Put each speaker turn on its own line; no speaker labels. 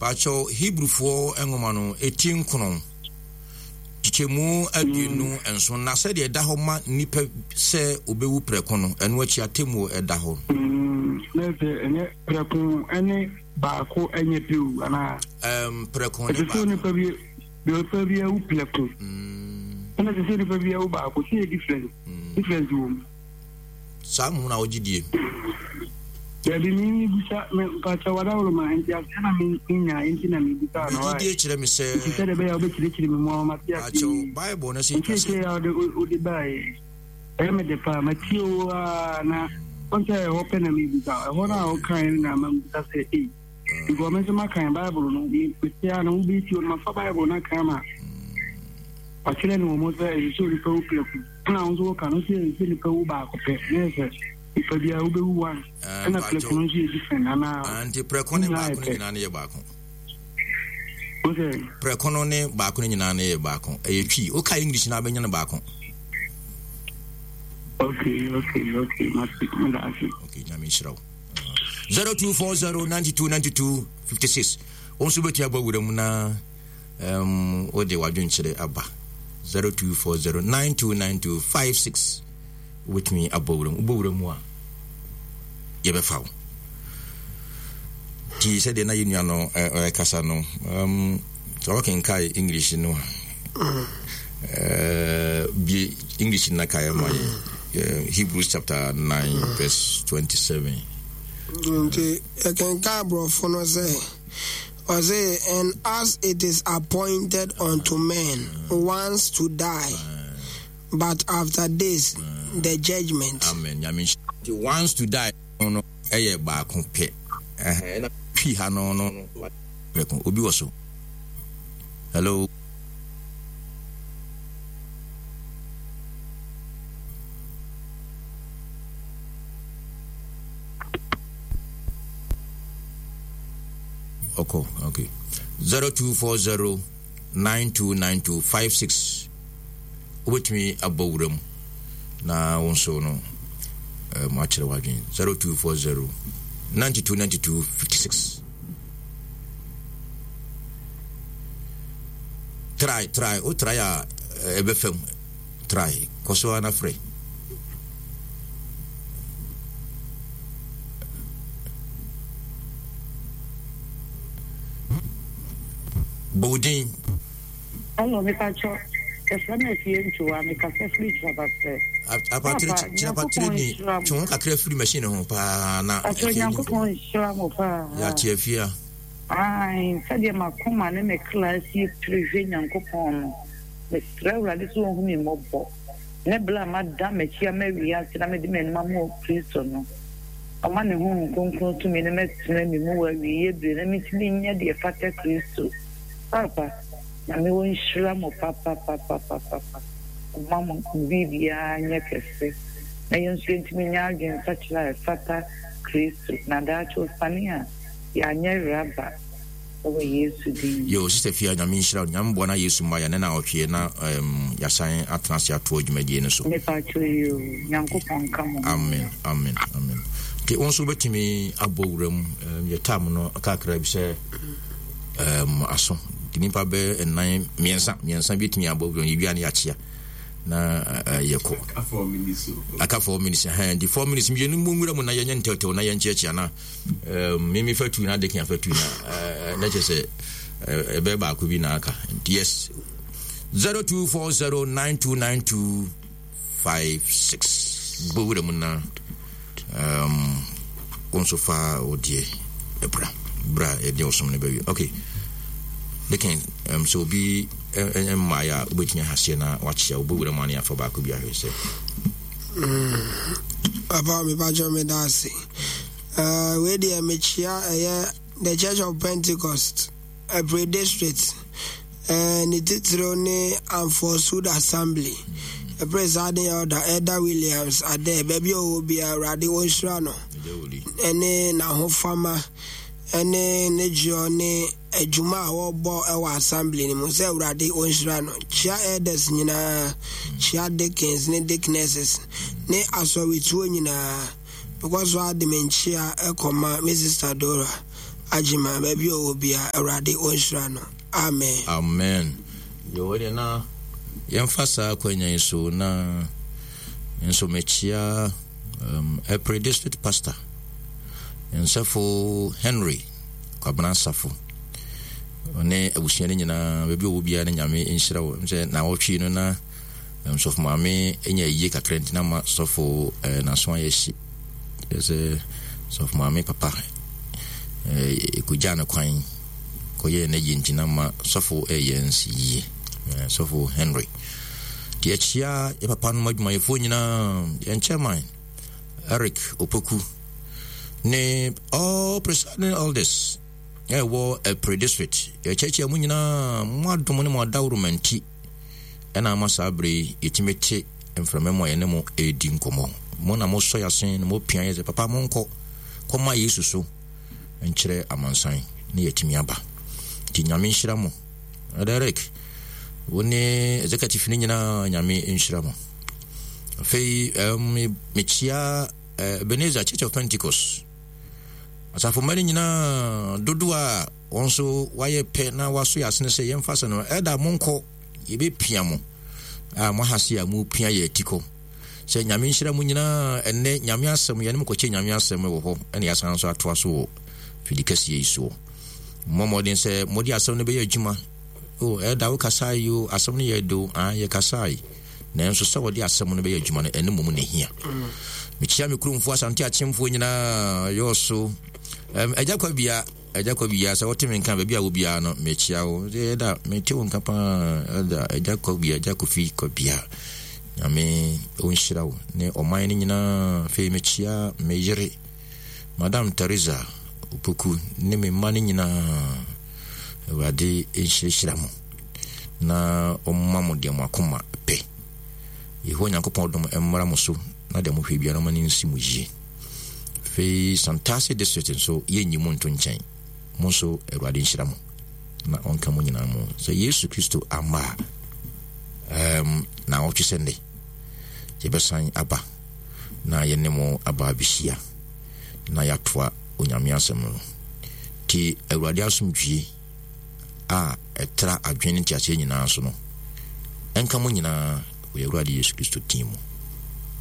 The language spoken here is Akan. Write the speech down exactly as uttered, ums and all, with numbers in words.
Pakyɛw, Hebrifoɔ nwoma no, eti nkron, kyekyɛmu aduonu nson, na sɛdeɛ ɛda hɔ ma nnipa sɛ obewu prɛko no, ɛno akyi atemmuo ɛda hɔ.
Mm, na sɛ ɛnyɛ prɛko ɛne baako ɛnyɛ pew anaa?
Um, prɛko ne
baako. Ɛsɛ sɛ nipa bi nipa bi awu prɛko. Mm. Ɛna ɛsɛ sɛ nipa bi awu baako, sɛ yɛ different. Mm. Difference wɔ mu.
Saa mmom na wogye die.
Dabi mi bisa me mpakyɛ wadaworo ma nti aseɛ na me nya nti na me bisa no
wa. Gyidie kyerɛ me sɛ.
Nti sɛ de bɛyɛ wobɛkyerɛkyerɛ me mu ama mate aseɛ.
Mpakyɛw Bible no sɛ
twa sɛ. Nkyerɛkyerɛ a wode wode baeɛ ɛyɛ me de paa matie wo a na wɔn sɛ ɛhɔ pɛ na me bisa ɛhɔ no a wokae no na ama me bisa sɛ ei. Because me nso makan Bible no me mete a na wobɛtie no mafa Bible no aka ama wakyerɛ no wɔ mu sɛ ɛsɛ sɛ onipa wu prɛko. Ɛna wo nso woka no sɛ ɛsɛ sɛ nipa wu baako pɛ na yɛ sɛ nipa biara wobɛwu one
eh,
ɛna prɛko no nso yɛ different anaa
ah, nti prɛko ne baako no nyinaa no yɛ baako prɛko no ne baako no nyinaa no yɛ baako ɛyɛ twi woka English no abɛnya no baako.
Okay, okay, okay. Mate, meda ase.
Okay, nyame nhyira wo. zero two four zero ninety two ninety two fifty six. Wo nso bɛtumi abɔ wura mu na um, wode w'adwenkyerɛ aba zero two four zero nine two nine two five six wobɛtumi abɔ wura mu. Wobɔ wura mu a yɛbɛfa wo. Nti sɛdeɛ na yɛnua no ɛkasa no um, sɛ wakenkae English no a uh, bie English no na kaeɛ ma yɛ Hebrews chapter nine verse twenty-seven.
Nti yɛkenkan aborɔfo no sɛ ɔse, and as it is appointed unto men once to die, but after this the judgment.
Amen. Nyame nhyira. Nti once to die no ɛyɛ baako pɛ. Ɛna twi ha no no prɛko. Obi wɔ so. Hello. Ɔkɔ, okay. zero two four zero nine two nine two five six. Wobɛtumi abɔ wura mu na wo nso no um, akyerɛ w'adwene. zero two four zero ninety two ninety two fifty six. Try, try, o try a ɛbɛfam. Try, kɔ so ara na frɛ. Bɔ wo din.
Hello, mepakyɛ yɛfrɛ me Afie Ntowa, mekasa firi Kyerɛpatrɛ.
Apatrɛ Kyerɛpatrɛ ni twe ho kakra firi machine ho paa na
Afie Nyankopɔn nhyira mo paa.
Yɛate afie a.
Ae, sɛdeɛ m'akoma ne me kra sie pere hwɛ Nyankopɔn no, mesrɛ Awurade sɛ ɔnhu me mmɔbɔ, ne berɛ a mada m'akyi ama wiase na mede m'anim ama Kristo no, ɔma ne Honhom Kronkron tumi no mmɛtena me mu wɔ awieeɛ berɛ na mentumi nyɛ deɛ ɛfata Kristo. Paapa, Nyame ɔnhyira mo papapapapapa, ɔmma mo biribiara nyɛ kɛse, na yɛn nso yɛntumi nyɛ adwensakyera a ɛfata Kristo, na daakye ɔsane a, yɛanyɛ raba wɔ Yesu din mu.
Yo, Sister Fia, Nyame nhyira wo. Nyame boa na Yesu mma yɛn ne na ɔtweɛ na um, yɛasan atena ase atoa dwumadie no so.
Mepakyɛ yoo, Nyankopɔn nka mo ho.
Amen, amen, amen. Nti wo nso wobɛtumi abɔ wura mu um, yɛ tam no kakra bi sɛ um, aso. Nti nipa bɛ nnan mmiɛnsa mmiɛnsa bi tumi abɔ wura mu, yɛwia ne yɛakyea na uh, yɛkɔ. Aka four minutes. Ɛhɛn, nti four minutes mmienu mu nwura mu na yɛnyɛ ntɛwtɛw na yɛnkyeakyea na Um, me me fa tu na adekin afa tu na uh, na kyerɛ sɛ ɛbɛyɛ baako bi na aka. Yes, zero two four zero nine two nine two five six. Bɔ wura mu na um, wo nso fa wo deɛ ɛbra bra ɛdeɛ ɔsom no bɛwie. Okay, dekin um, sɛ obi mmaeɛ a wobɛtumi ahaseɛ na wakyea wobɔ wura mu ane afa baako bi ahwɛ sɛ.
Papa mepakyɛ meda ase. Uh, wei deɛ mekyia ɛyɛ The Church of Pentecost, Ɛpre District, uh, ne titiriw ne Amfosud Assembly. Ɛpre saa de Elder Elder Williams Adɛ, baabi a ɔwɔ biara Awurade ɔnhyira no, ɛne n'ahofama, ɛne ne dwoɔ ne adwuma a wɔbɔ wɔ assembly no mu sɛ Awurade ɔnhyira no. Kyia elders nyinaa, kyia deacons ne deaconesses ne asɔretuo nyinaa. Mekɔ so ara de me nkyea kɔma me sista Dora Agyima, baabi a ɔwɔ bia, Awurade ɔnhyira no. Amen.
Amen. Yɛwɔ deɛ na yɛmfa saa akwanya yi so na nso mekyia um, Ɛpre District Pastor Nsɛfo Henry Kwabena Safo ɔne abusua no nyinaa, baabi a ɔwɔ biara no, Nyame nhyira wo. Sɛ na wɔtwe no na um, sɔfo maame nya yie kakra nti na ma sɔfo eh, n'aso ayɛ hye sɛ sɔfo maame papa ɛkɔgyaa no kwan kɔyɛɛ no yie nti na ma sɔfo ɛyɛ nsi yie. Sɔfo Henry nti akyia yɛ papa nom adwumayɛfoɔ nyinaa, yɛn chairman Eric Opoku ne all presiding elders ɛwɔ Ɛpre District. Yɛkyerɛkyerɛ mu nyinaa, mo adom ne mo adaworoma nti ɛna ama saa bere yi yɛtumi te mframa mu a yɛne mo ɛredi nkɔmmɔ. Mo na mosɔ yɛ asen na mopia yɛ sɛ papa monkɔ kɔma Yesu so nkyerɛ amansan ne yɛtumi aba. Nti Nyame nhyira mo. Eric, wo ne executive no nyinaa, Nyame nhyira mo. Afei um, mekyia uh, Ebenezer Church of Pentecost asafo mma no nyinaa dodoɔ a wɔn nso wayɛ pɛ na waso yɛ asene sɛ yɛmfa sɛ no ɛda monkɔ, yɛbɛpia mo a moahase a mopia yɛ atikɔ sɛ Nyame nhyira mu nyinaa. Ɛnnɛ Nyame asɛm yɛne mo kɔkyɛ Nyame asɛm wɔ hɔ, ɛne yɛasan nso atoa so wɔ fidi kɛseɛ yi soɔ. Mmɔ mmɔden sɛ mode asɛm no bɛyɛ adwuma. O ɛda wo kasae yi o, asɛm no yɛ do a yɛkasae, nanso sɛ wɔde asɛm no bɛyɛ adwuma no, ɛno mmom na ɛhia. Mekyia me kuromfoɔ Asante Akyemfoɔ nyinaa yɛɔ agya kwa bia, agya kwa bia, sɛ wote me nka baabi a wo biara no, mekyia wo. Ɛda mete wo nka paa. Ɛda agya kwa bia, agya Kofi kwa bia, Nyame ɔnhyira wo ne ɔman no nyinaa. Afei mekyia me yere Madam Teresa Opoku ne me mma no nyinaa. Awurade nhyirahyira mo na ɔmma mo deɛ mo akoma pɛ. Yehowa Nyankopɔn dom mmra mo so na deɛ mohwɛ biara ma no nsi mo yie. Afei Santase District nso, yɛnyi mo nto nkyɛn. Mo nso Awurade nhyira mo na ɔnka mo nyinaa mo. Sɛ Yesu Kristo ama a, um, na ɔtwe sɛ nnɛ yɛbɛsan aba na yɛne mo aba abɛhyia na yɛatoa Onyame asɛm no. Nti Awurade asomdwie a ɛtra adwene ne nteaseɛ nyinaa so no ɛnka mo nyinaa wɔ Awurade Yesu Kristo din mu.